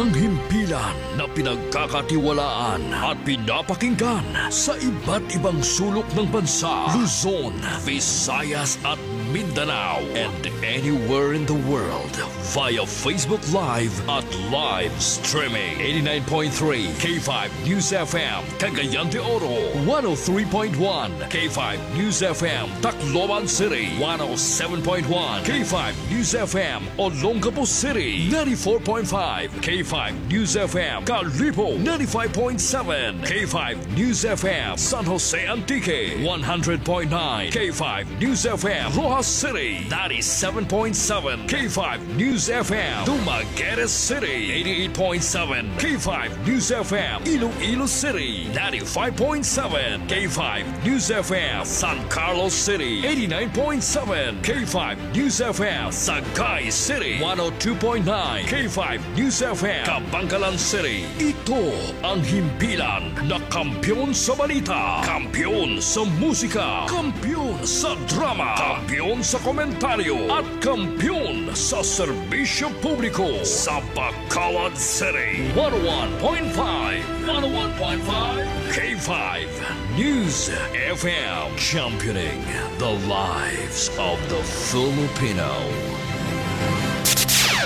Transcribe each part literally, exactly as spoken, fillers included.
Ang himpilan na pinagkakatiwalaan at pinapakinggan sa iba't ibang sulok ng bansa, Luzon, Visayas at Mindanao, and anywhere in the world via Facebook Live at live streaming. Eighty-nine point three K five News F M, Cagayan de Oro, one oh three point one K five News F M, Tacloban City, one oh seven point one K five News F M, Olongapo City, ninety-four point five K five News F M, Kalibo, ninety-five point seven K five News F M, San Jose Antique, one hundred point nine K five News F M, Roxas City, ninety-seven point seven K five News F M, Dumaguete City, eighty-eight point seven K five News F M, Iloilo City, ninety-five point seven K five News F M, San Carlos City, eighty-nine point seven K five News F M, Sagay City, one oh two point nine K five News F M, Kabankalan City. Ito ang himpilan na kampiyon sa balita, kampiyon sa musika, kampiyon sa drama, kampiyon sa komentaryo, at kampiyon sa serbisyo publiko sa Bacolod City. One oh one point five, one oh one point five K five News F M, championing the lives of the Filipino.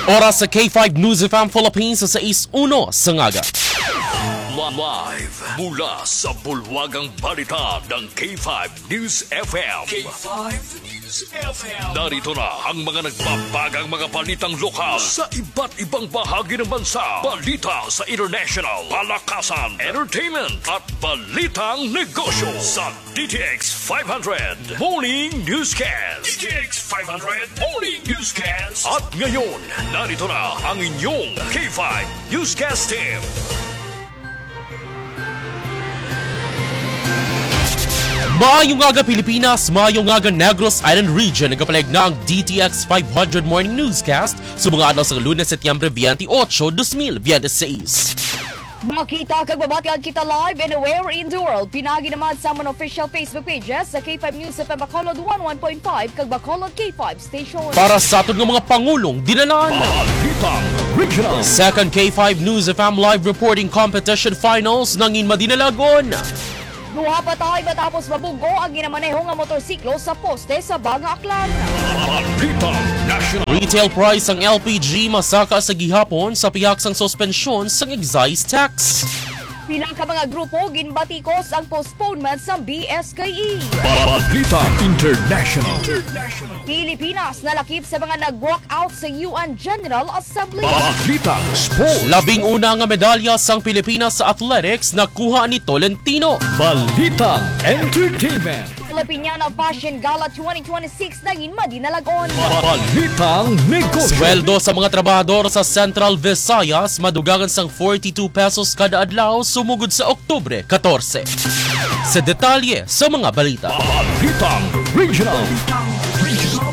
Oras sa K five News F M Philippines sa sais uno sa ngaga. Live mula sa bulwagang balita ng K five News F M. K five News F M. Narito na ang mga nagbabagang mga balitang lokal sa iba't ibang bahagi ng bansa. Balita sa international, palakasan, entertainment, at balitang negosyo sa D T X five hundred Morning Newscast. D T X five hundred Morning Newscast. At ngayon, narito na ang inyong K five Newscast Team. Maayong aga, Pilipinas. Maayong aga, Negros Island Region. Nagapalayag na ang D T X five hundred Morning Newscast sa mga adlaw sa Lunes, Setyembre twenty-eight, dos mil biyente seis. Makita kag mabatian kita live anywhere in the world. Pinaagi naman sa amon official Facebook pages sa K five News F M Bacolod one one point five kag Bacolod K five Station. Para sa aton nga mga pangulong dinalan. Balitang Regional. Second K five News F M Live Reporting Competition Finals nangin madinalagon. Duha patay matapos mabug-o ang ginamaneho nga motorsiklo sa poste sa Banga, Aklan. Balitang National. Retail price ang L P G masaka sa gihapon sa pihak sang suspensyon sang excise tax. Pila ka mga grupo ginbatikos ang postponement sa B S K E. Balitang International. Pilipinas nalakip sa mga nag-walk out sa U N General Assembly. Balitang Sports. Labing una nga medalya sang Pilipinas sa athletics nakuha ni Tolentino. Balitang Entertainment. Filipiniana Fashion Gala twenty twenty-six nangin madinalagon. Balitang Negosyo. Sweldo sa mga trabahador sa Central Visayas madugangan sang forty-two pesos kada adlaw sumugod sa Oktubre katorse. Sa detalye sa mga balita. Balitang Regional.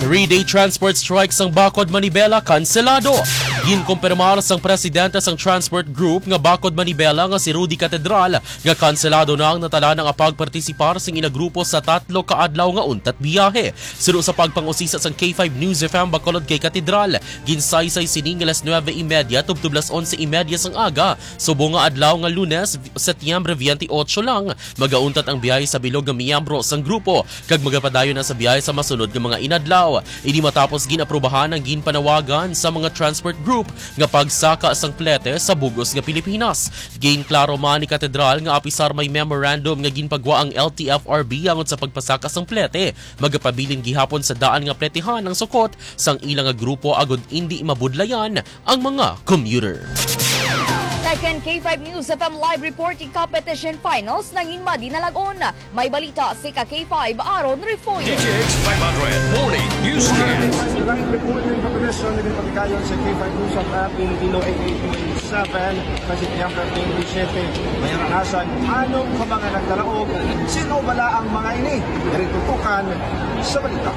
Three-day transport strike sang Bacod Manibela kanselado. Ginkumpirmar sang presidente sang transport group nga Bacod Manibela nga si Rudy Catedral nga kanselado na ang natanan nga pagpartisipar sing ila grupo sa tatlo ka adlaw nga untat biyahe. Suno sa pagpangusisa sang K five News F M Bacolod kay Catedral, ginsaysay sini nga alas nuebe y media tubtob alas onse y media sang aga. Subong nga adlaw nga Lunes, Setyembre twenty-eight lang, magauntat ang biyahe sa bilog nga miyembro sang grupo kag magapadayon na sa biyahe sa masunod nga mga inadlaw. Ini matapos gin-aprubahan ang ginpanawagan sa mga transport group nga pagsaka sang plete sa bug-os nga Pilipinas. Ginklaro man ni Catedral nga apisar may memorandum nga ginpagwa ang L T F R B angot sa pagpasaka sang plete, magapabilin gihapon sa daan nga pletehan ang sukot sang ila nga grupo agod indi mabudlayan ang mga commuter. Second K five News F M Live Reporting Competition Finals nangin madinalagon. May balita si ka K five Aaron Refollo. D T X five hundred Morning Newscast. Live reporting competition na ginpatigayon sa K five News F M Iloilo eighty-eight point seven, sa Setyembre twenty-seven. May aranasan, anong ka mga nagdalaog? Sino bala ang mga ini? Diri tutukan sa balita.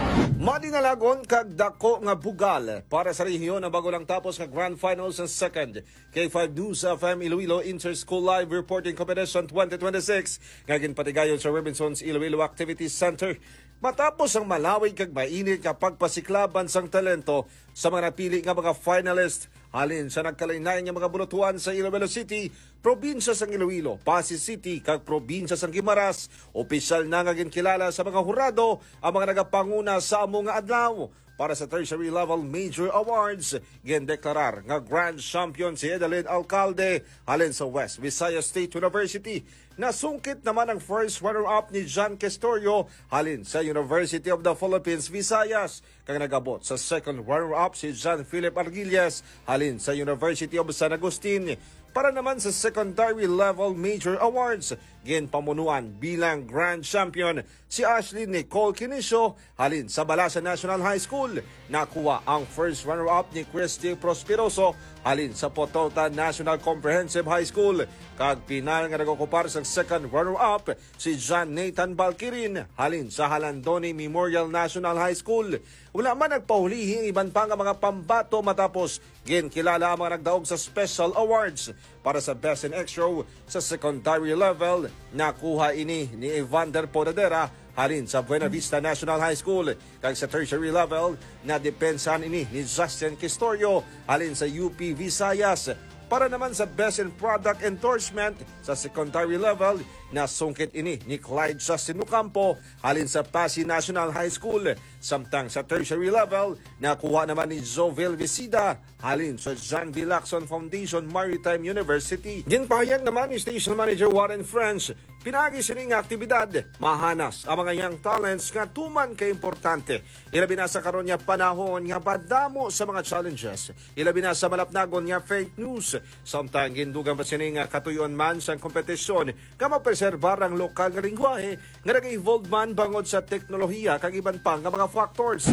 Madinalagon kag dako nga bugal para sa rehiyon ang bago lang tapos nga Grand Finals sa Second K five News F M Iloilo Inter-School Live Reporting Competition twenty twenty-six nga ginpatigayon sa Robinsons Iloilo Activities Center. Matapos ang malawig kag mainit nga pagpasiklaban sang talento sa mga napili nga mga finalist, halin sa nagkalain-lain nga mga bulutuan sa Iloilo City, probinsya sang Iloilo, Passi City, kag probinsya sang Guimaras. Opisyal na nga ginkilala sa mga hurado ang mga nagapanguna sa amo nga adlaw. Para sa tertiary level major awards, gindeklarar nga grand champion si Edelin Alcalde halin sa West Visayas State University. Nasungkit naman ang first runner-up ni John Questorio halin sa University of the Philippines, Visayas, kag nagabot sa second runner-up si John Philip Arguillas halin sa University of San Agustin. Para naman sa secondary level major awards, ginpamunuan bilang grand champion si Ashley Nicole Quinicio halin sa Balasa National High School. Nakuha ang first runner-up ni Christy Prosperoso halin sa Potota National Comprehensive High School, kag pinal nga nag-okupar sang second runner-up si John Nathan Balkirin halin sa Halandoni Memorial National High School. Wala man nagpahulihi ang iban pa nga mga pambato matapos ginkilala ang mga nagdaog sa special awards. Para sa Best in Extra sa secondary level, nakuha ini ni Evander Podadera halin sa Buena Vista National High School, kag sa tertiary level, nadepensahan ini ni Justin Quistorio halin sa U P Visayas. Para naman sa Best in Product Endorsement sa secondary level, nasungkit ini ni Clyde Justin Ocampo halin sa Passi National High School. Samtang sa tertiary level, nakuha naman ni Jovel Visida halin sa John V. Lacson Foundation Maritime University. Ginpahayag naman ni Station Manager Warren French, pinaagi sini nga aktibidad, mahanas ang mga young talents nga tuman ka importante, ilabi na sa karon nga panahon nga madamo sa mga challenges, ilabi na sa malapnagon nga fake news. Samtang gindugang pa sini nga katuyon man sang kompetisyon nga mapreserbar ang lokal nga lengguwahe nga nag-evolve man bangod sa teknolohiya kag iban pa nga mga factors.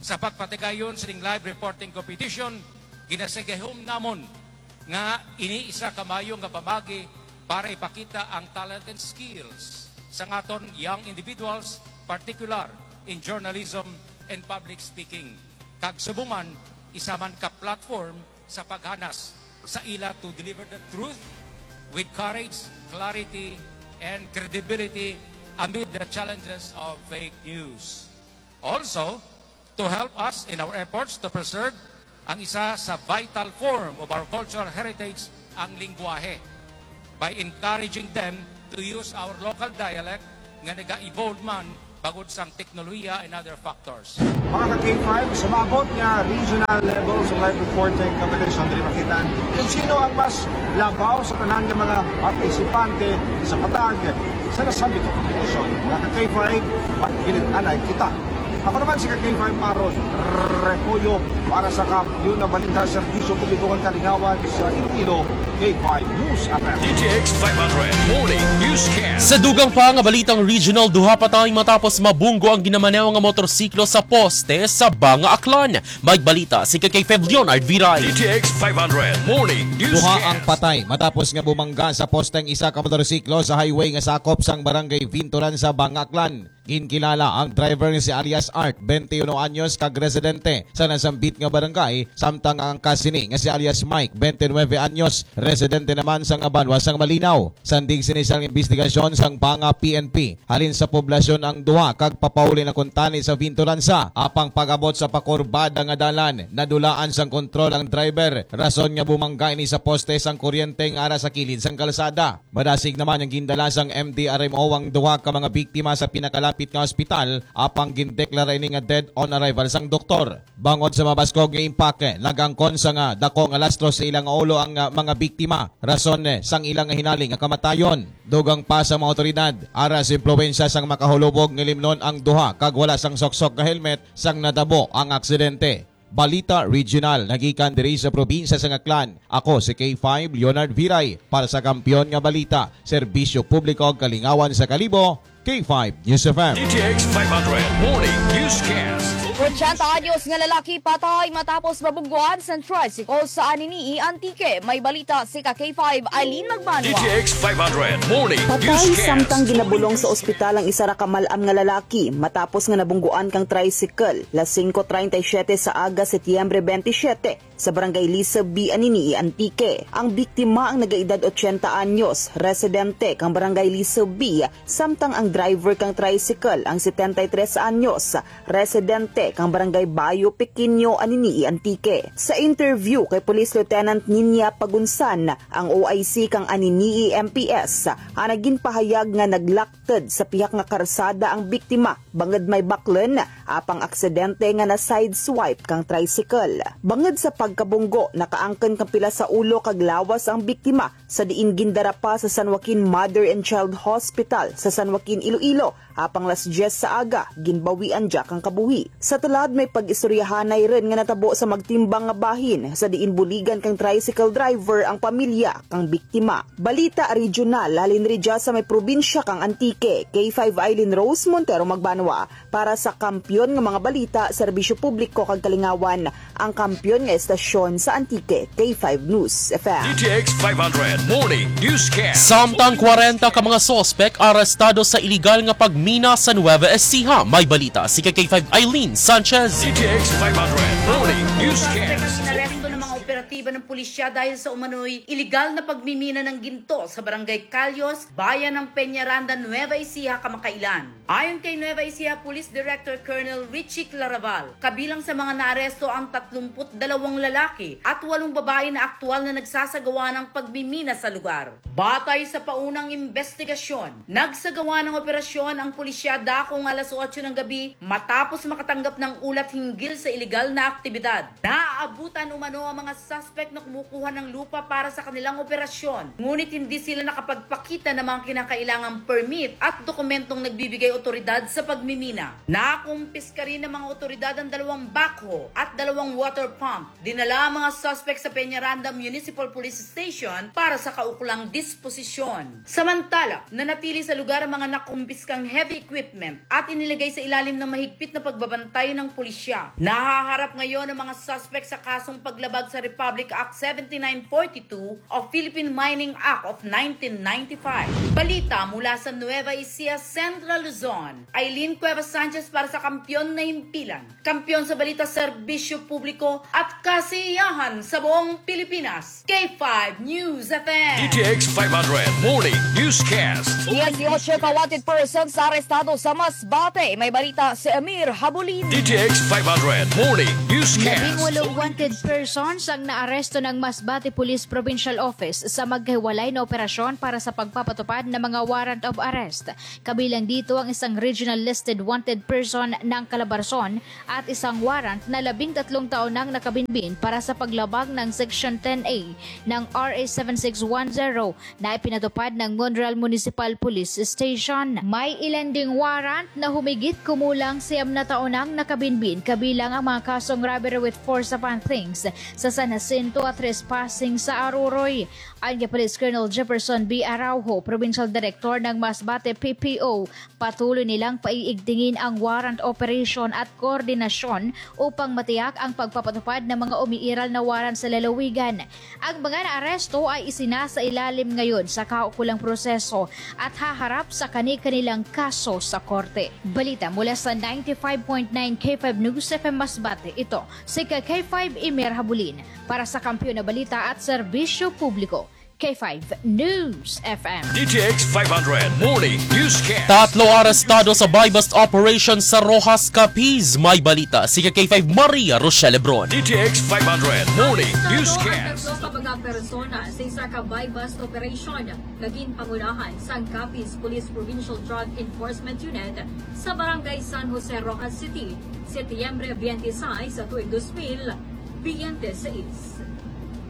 Sa pagpatigayon sining live reporting competition, ginasigahom namon nga ini isa ka maayo nga pamaagi para ipakita ang talent and skills sang aton young individuals, particular in journalism and public speaking. Kag subong man, isa man ka platform sa paghanas sa ila to deliver the truth with courage, clarity, and credibility amid the challenges of fake news. Also, to help us in our efforts to preserve ang isa sa vital form of our cultural heritage, ang lengguwahe, by encouraging them to use our local dialect nga naga-evolve man bangod sang teknolohiya and other factors. Mga ka-K five, sa maabot nga regional level sa live reporting competition, diri makita kung sino ang mas labaw sa tanan nga mga partisipante sa patag sa nasambit nga competition. Mga ka-K five, magkilit-anay kita. Ako naman si ka-K five Aaron Repoyo para sa Kampiyon nga Balita, Serbisyo Publiko kag Kalingawan sa Iloilo, K five News F M. D T X five hundred Morning Newscast. Sa dugang pa nga balitang regional, duha patay matapos mabunggo ang ginamaneho nga motorsiklo sa poste sa Banga, Aklan. May balita si ka-K five Leonard Viray. D T X five hundred Morning Newscast. Duha ang patay matapos nga bumangga sa poste ang isa ka motorsiklo sa highway nga sakop sang barangay Vinturan sa Banga, Aklan. Ginkilala ang driver nga si alias Art, twenty-uno anyos, kag residente sa nasambit nga barangay, samtang ang angkas sini nga si alias Mike, twenty-nuebe anyos, residente naman sang banwa sang Malinaw. Sandig sini sang imbestigasyon sang Banga P N P, halin sa poblasyon ang duha kag papauli na kuntani sa Vinturan sa, apang pag-abot sa pakurbada nga dalan, nadulaan sang kontrol ang driver, rason nga bumangga ini sa poste sang kuryente nga ara sa kilid sang kalsada. Madasig naman ang gindala sang M D R M O ang duha ka mga biktima sa pinakalapit nga ospital, apang gindeklara ini nga dead on arrival sang doktor. Bangod sa mabaskog nga impake, nagangkon sa nga dako nga lastro sa ilang ulo ang, ah, mga biktima, rason, eh, sang ilang hinaling nga kamatayon. Dugang pa sa mga awtoridad, ara sa impluwensya sang makahulubog nga limnon ang duha kag wala sang suksok nga helmet sang natabo ang aksidente. Balita Regional, nagikan diri sa probinsya sang Aklan. Ako si K five Leonard Viray para sa Kampiyon nga Balita, Serbisyo Publiko ug Kalingawan sa Kalibo, K five News F M. D T X five hundred Morning Newscast. Ochenta anyos nga lalaki patay matapos mabungguan sa tricycle sa Anini-y, Antique. May balita si ka K five Eileen Magbanwa. D T X five hundred Morning Patay Newscast. Samtang ginabulong sa ospital ang isa ra ka mal-am nga lalaki matapos nga nabungguan kang tricycle, las singko treinta y siete sa aga, Setyembre twenty-seven, sa Barangay Lisab B, Anini-y, Antique. Ang biktima ang nagaedad ochenta anyos, residente kang Barangay Lisab B, samtang ang driver kang tricycle ang setenta y tres anyos, residente kang Barangay Bayo Pequeño, Anini-y, Antique. Sa interview kay Police Lieutenant Ninia Pagunsan, ang O I C kang Anini-y M P S, ang nagin pahayag nga naglakted sa pihak nga karsada ang biktima bangod may baklen, apang aksidente nga na-sideswipe kang tricycle. Bangod sa pagkabunggo, nakaangkon kang pila sa ulo kag lawas ang biktima, sa diin gindara pa sa San Joaquin Mother and Child Hospital sa San Joaquin, Iloilo, apang las diyes sa aga, ginbawian dya kang kabuhi. Sa tulad, may pag-istoryahanay rin nga natabo sa magtimbang nga bahin, sa diin buligan kang tricycle driver ang pamilya kang biktima. Balita regional, halin ri dya sa may probinsya kang Antique, K five Eileen Rose Montero Magbanwa. Para sa kampiyon nga mga balita, serbisyo publiko kag kalingawan, ang kampiyon nga estasyon sa Antique, K five News F M. D T X five hundred Morning Newscast. Samtang kwarenta ka mga suspek arestado sa iligal nga pagmina sa Nueva Ecija. May balita si K five Eileen Sanchez. D T X five hundred Morning Newscast. Inaresto ng mga operatiba ng pulisya dahil sa umano'y iligal na pagmimina ng ginto sa Barangay Calyos, bayan ng Peñaranda, Nueva Ecija, kamakailan. Ayon kay Nueva Ecija Police Director Colonel Richie Claraval, kabilang sa mga naaresto ang tatlumput dalawang lalaki at walong babae na aktual na nagsasagawa ng pagmimina sa lugar. Batay sa paunang investigasyon, nagsagawa ng operasyon ang pulisya dakong alas otso ng gabi matapos makatanggap ng ulat hinggil sa iligal na aktibidad. Naabutan umano ang mga suspect na kumukuha ng lupa para sa kanilang operasyon, ngunit hindi sila nakapagpakita ng mga kinakailangang permit at dokumentong nagbibigay otoridad sa pagmimina. Nakumpiska rin ng mga otoridad ang dalawang backhoe at dalawang water pump. Dinala ang mga suspect sa Peñaranda Municipal Police Station para sa kaukulang disposisyon. Samantala, nanatili sa lugar ang mga nakumpiskang heavy equipment at inilagay sa ilalim ng mahigpit na pagbabantay ng pulisya. Nahaharap ngayon ang mga suspect sa kasong paglabag sa Republic Act seventy-nine forty-two o Philippine Mining Act of nineteen ninety-five. Balita mula sa Nueva Ecija, Central Luzon. Eileen Cuevas Sanchez para sa Kampiyon na Himpilan. Kampiyon sa balita, serbisyo publiko at kasiyahan sa buong Pilipinas. K five News F M. D T X five hundred Morning Newscast. Diyesyocho ka wanted persons arestado sa Masbate. May balita si Amir Habulin. D T X five hundred Morning Newscast. Labing walong wanted persons ang naaresto ng Masbate Police Provincial Office sa magkahiwalay na operasyon para sa pagpapatupad ng mga warrant of arrest. Kabilang dito ang isang regional listed wanted person ng Calabarzon at isang warrant na labing tatlong taon nang nakabinbin para sa paglabag ng Section ten A ng R A seven six one zero na ipinatupad ng Monreal Municipal Police Station. May ilan ding warrant na humigit kumulang siyam na taon nang nakabinbin, kabilang ang mga kasong robbery with force upon things sa San Jacinto at trespassing sa Aruroy. Ayon kay Police Colonel Jefferson B. Araujo, Provincial Director ng Masbate P P O, patuloy nilang paiigtingin ang warrant operation at koordinasyon upang matiyak ang pagpapatupad ng mga umiiral na warrant sa lalawigan. Ang mga naaresto ay isinasailalim ngayon sa kaukulang proseso at haharap sa kani-kanilang kaso sa korte. Balita mula sa ninety-five point nine K five News F M Masbate, ito si K five Imer Habulin para sa Kampiyon na Balita at Serbisyo Publiko. K five News F M. D T X five hundred Morning Newscast. Tatlo arestado sa buy-bust operation sa Roxas, Capiz. May balita si K five Maria Rochelle Lebron. D T X five hundred Morning Arestado ang Newscast. Tatlo ka mga persona sa isa ka buy-bust operation nga ginpangunahan sang Capiz Police Provincial Drug Enforcement Unit sa Barangay San Jose, Roxas City, Setyembre twenty-six sa tuig dos mil twenty-six.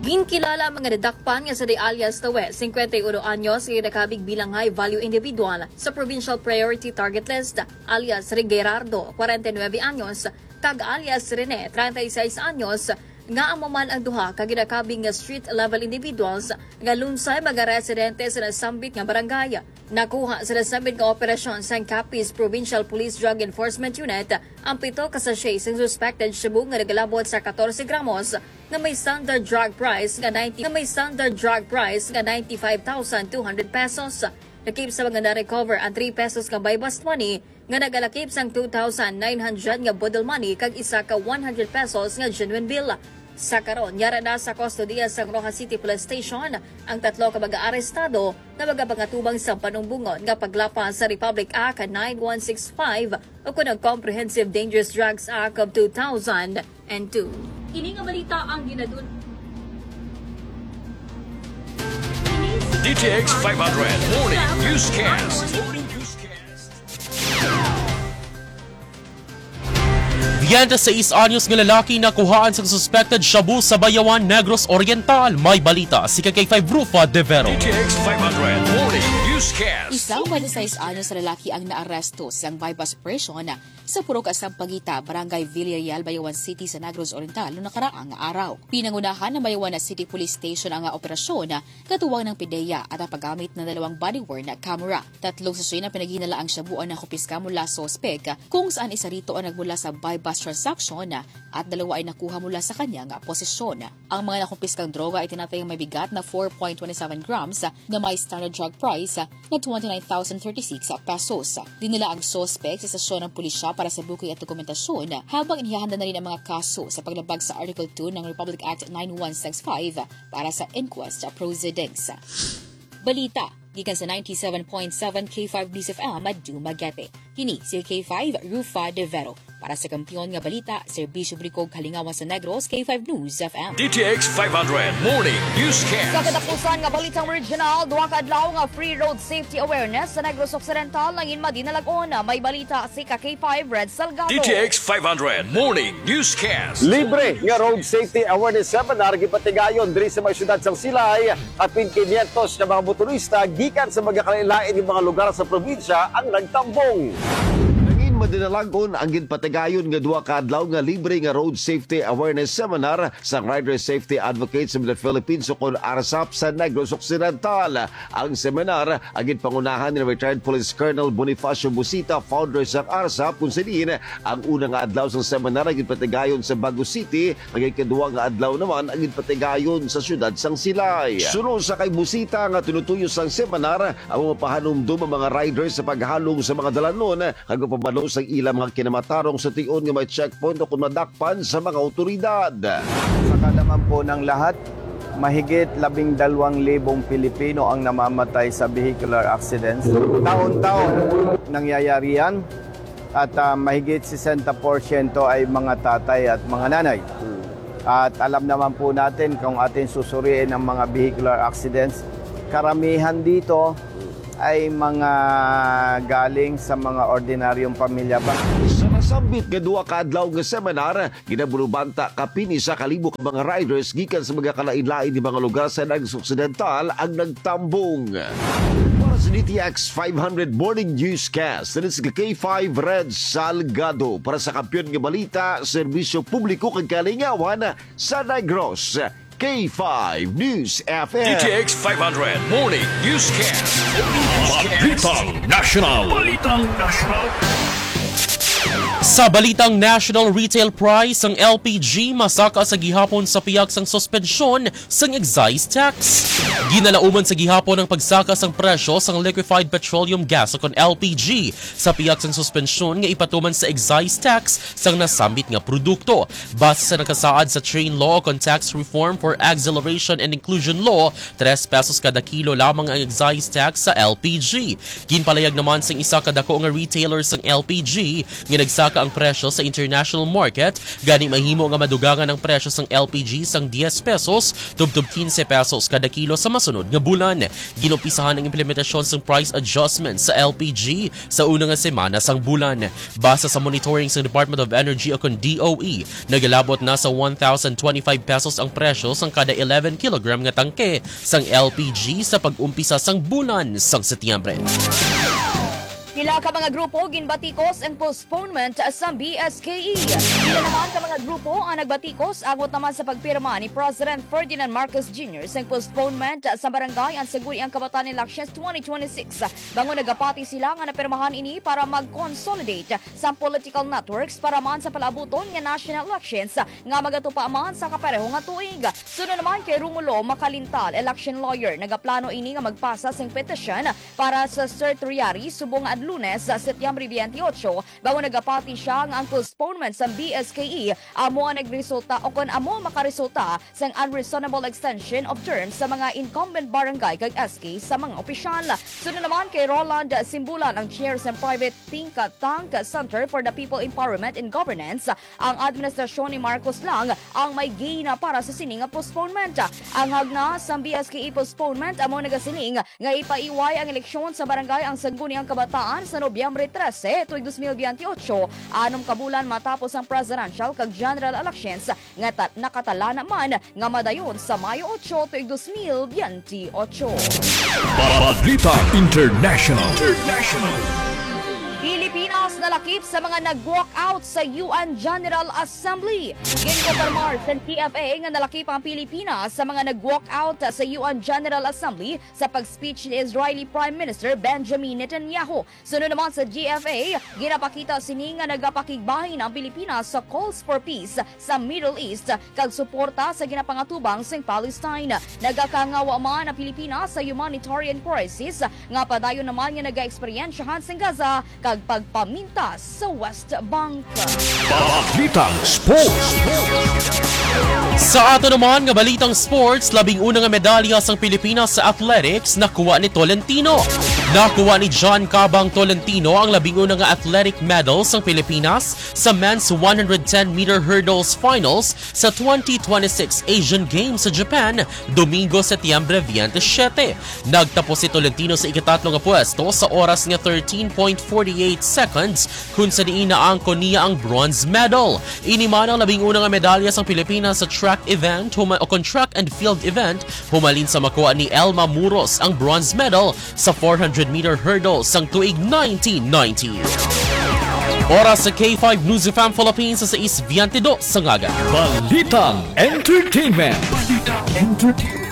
Ginkilala ang mga nadakpan nga si Day alias Tawe, cincuenta y uno anyos, nga ginakabig bilang high value individual sa Provincial Priority Target List, alias Ring Gerardo, kwarenta y nuebe anyos, kag alias Rene, treinta y seis anyos, nga amo man ang duha ka ginakabig nga street level individuals nga lunsay mga residente sa nasambit nga barangay. Nakuha sa nasambit nga operasyon sang Capiz Provincial Police Drug Enforcement Unit ang pito ka sachet sang suspected shabu nga nagalabot sa katorse gramos nga may standard drug price nga ninety, nga may standard drug price nga ninety-five thousand two hundred pesos. Lakip sa mga na-recover ang three pesos nga buy-bust money nga nagalakip sang two thousand nine hundred nga boodle money kag isa ka one hundred pesos nga genuine bill. Sa karon, yara na sa kustodiya sang Roxas City Police Station ang tatlo ka mag-aarestado nga magapangatubang sa panumbongon nga paglapas sa Republic Act nine one six five o kon ang Comprehensive Dangerous Drugs Act of two thousand and two. Ini nga balita ang ginadul- D T X five hundred Morning Newscast. Morning Newscast. Biyente sais anyos nga lalaki nakuhaan sang suspected shabu sa Bayawan, Negros Oriental. May balita si K K five Rufa De Vero. D T X five hundred Morning Newscast. Isang biyente sais anyos nga lalaki ang naaresto sang buy-bust operation sa Purok Sampaguita, Barangay Villarreal, Bayawan City sa Negros Oriental, no nakaraang nga araw. Pinangunahan ng Bayawan City Police Station ang operasyon katuwang ng PDEA at ang paggamit ng dalawang body-worn na camera. Tatlong sachet na pinaghinalaang shabu ang nakumpiska mula sa suspek, kung saan isa rito ang nagmula sa buy-bust transaction at dalawa ay nakuha mula sa kanyang posisyon. Ang mga nakumpiskang droga ay tinatayang may bigat na four point twenty seven grams na may standard drug price na twenty nine thousand thirty six pesos. Dinala ang suspek sa estasyon ng pulisya para sa booking at dokumentasyon, habang inihahanda na rin ang mga kaso sa paglabag sa Article two ng Republic Act nine one six five para sa inquest proceedings. Balita gikan sa ninety seven point seven K five News F M, Dumaguete. Kini si K five Rufa De Vero. Para sa kampiyon nga balita, serbisyo publiko, kalingawan sa Negros, K five News F M. D T X five hundred Morning Newscast. Sa katapusan nga balitang regional, duha ka adlaw nga free road safety awareness sa Negros Occidental nangin madinalag-on. May balita si ka K five Red Salgado. D T X five hundred Morning Newscast. Libre nga road safety awareness seminar gipatigayon diri sa may siyudad sang Silay. Kapin quinientos ka mga motorista gikan sa mga kalain-lain nga mga lugar sa probinsya ang nagtambong. Nangin madinalag-on ang ginpatigayon nga duha ka adlaw nga libre nga road safety awareness seminar sang Rider Safety Advocates of the Philippines o kon arsap sa Negros Occidental. Ang seminar ang ginpangunahan ni Retired Police Colonel Bonifacio Busita, founder sang arsap, kung sa diin ang una nga adlaw sang seminar ang ginpatigayon sa Bago City, ang ikadua nga adlaw naman ang ginpatigayon sa siyudad sang Silay. Suno sa kay Busita nga tinutuyo sang seminar, ang mga pahanumdom ang mga riders sa paghalong sa mga dalanon kag magpabalo sa ila mga kinamatarong sa tion nga may checkpoint o kon madakpan sa mga awtoridad. Sa kadaman po ng lahat, mahigit labing dalawang libong Pilipino ang namamatay sa vehicular accidents. Taon-taon nangyayari yan. At, ah, mahigit sesenta porsyento ay mga tatay at mga nanay. At alam naman po natin, kung ating susuriin ang mga vehicular accidents, karamihan dito ay mga galing sa mga ordinaryong pamilya ba. Sa nasambit nga duha ka adlaw nga seminar, ginabulubanta kapin isa ka libo ka mga riders gikan sa mga kalain-lain nga mga lugar sa Negros Occidental ang nagtambong. Para sa D T X five hundred Morning Newscast, this is K five Red Salgado para sa Kampiyon nga Balita, Serbisyo Publiko kag Kalingawan sa Negros, K five News F M. D T X five hundred Morning Newscast. Balitang National. Balitang National. Sa balitang national, retail price sang L P G masaka sa gihapon sa pihak sang suspensyon sang excise tax. Ginalauman sa gihapon ang pagsaka sang presyo sang liquefied petroleum gas o kon L P G sa pihak sang suspensyon nga ipatuman sa excise tax sang nasambit nga produkto. Base sa nakasaad sa Train Law o kon Tax Reform for Acceleration and Inclusion Law, tres pesos kada kilo lamang ang excise tax sa L P G. Ginpalayag naman sang isa ka dako nga retailer sang L P G nga nagsaka ang presyo sa international market, gani mahimo nga madugangan ang presyo sang L P G sang diyes pesos tubtob kinse pesos kada kilo sa masunod nga bulan. Ginumpisahan ang implementasyon sang price adjustment sa L P G sa una nga semana sang bulan. Base sa monitoring sang Department of Energy o kon D O E, nagalabot na sa one thousand twenty-five pesos ang presyo sang kada eleven kilogram nga tangke sang L P G sa pag-umpisa sang bulan sang Setyembre. Pila ka mga grupo ginbatikos ang postponement sa B S K E. Pila naman ka mga grupo ang nagbatikos angot naman sa pagpirma ni President Ferdinand Marcos Junior sang postponement sa Barangay Ansaguri ang Kabataan Elections twenty twenty-six. Bangon nagapati sila nga napirmahan ini para mag-consolidate sa political networks para man sa palaabuton nga national elections nga magatupa man sa kapareho nga tuig. Suno naman kay Romulo Macalintal, election lawyer, nagaplano ini nga magpasa sing petisyon para sa certiorari subong nga adlaw Lunes, Setyembre twenty-eight, bago nagapati siya nga ang postponement sa B S K E amo ang nagresulta o kon amo makaresulta sang unreasonable extension of terms sa mga incumbent barangay kag S K sa mga opisyal. Sunod naman kay Roland Simbulan, ang chair sa Private Think Tank Center for the People Empowerment and Governance, ang administrasyon ni Marcos lang ang may gina para sa sini nga postponement. Ang hagna sang B S K E postponement amo nagasiling nga ipaiway ang eleksyon sa barangay ang Sangguniang Kabataan sa Nobyembre trese, tuig dos mil biyente otso, anom ka bulan matapos ang presidential kag general elections nga ta- nakatala naman nga madayon sa Mayo otso, tuig dos mil biyente otso. Balita International. Pilipinas nalakip sa mga nag-walkout sa U N General Assembly. Ginkonfirmar sa T F A nga nalakip ang Pilipinas sa mga nag-walkout sa U N General Assembly sa pag-speech ni Israeli Prime Minister Benjamin Netanyahu. Sunod naman sa G F A, ginapakita sini nga nagapakigbahin ang Pilipinas sa calls for peace sa Middle East kag suporta sa ginapangatubang sang Palestine. Nagakangawa man ang Pilipinas sa humanitarian crisis nga padayon naman nga nagaeksperyensyahan sang Gaza kag pagpamintas sa West Bank. Balitang Sports. Sa ato naman nga balitang sports, labing una nga medalya sang Pilipinas sa athletics nakuha ni Tolentino. Nakuha ni John Cabang Tolentino ang labing una nga athletic medal sang Pilipinas sa men's one hundred ten meter hurdles finals sa twenty twenty-six Asian Games sa Japan, Domingo, Setyembre twenty-seven. Nagtapos si Tolentino sa ikatatlo nga pwesto sa oras nga thirteen point forty-eight seconds, kung sa diin naangkon niya ang bronze medal. Ini man ang labing una nga medalya sang Pilipinas sa track event huma- o kon track and field event, humalin sa makuha ni Elma Muros ang bronze medal sa four hundred meter hurdle sang tuig nineteen ninety. Oras sa K five News F M Philippines sa sais biyente dos sa aga. Balitang Entertainment.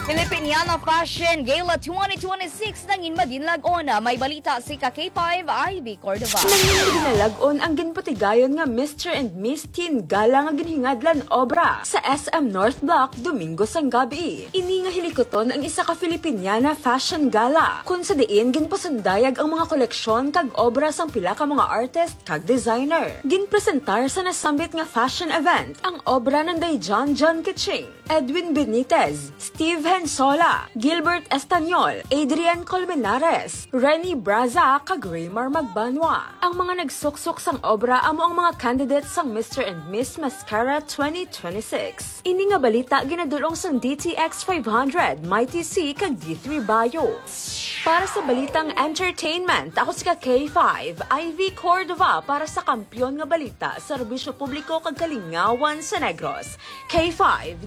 Filipiniana Fashion Gala twenty twenty-six nangin madinlag-on. May balita si ka K five, Ivy Cordova. Nangin madinalagon ang ginpatigayon nga Mister and Miss Teen Gala nga ginhingadlan obra sa S M North Block Domingo sang gabi. Ini nga hilikuton ang isa ka Filipiniana fashion gala, kun sa diin ginpasundayag ang mga koleksyon kag obra sang pila ka mga artist kag designer. Ginpresentar sa nasambit nga fashion event ang obra nanday John John Kiching, Edwin Benitez, Steve Hensola, Gilbert Estanyol, Adrian Colmenares, Renny Braza, kag Raymar Magbanwa. Ang mga nagsuksok sang obra amo ang mga candidates sang Mister and Miss Mascara twenty twenty-six. Ini nga balita ginadul-ong sang D T X five hundred, Mighty C, kag D three Bio. Para sa balitang entertainment, ako si ka K five, Ivy Cordova para sa Kampiyon nga Balita, Serbisyo Publiko kag Kalingawan sa Negros. K five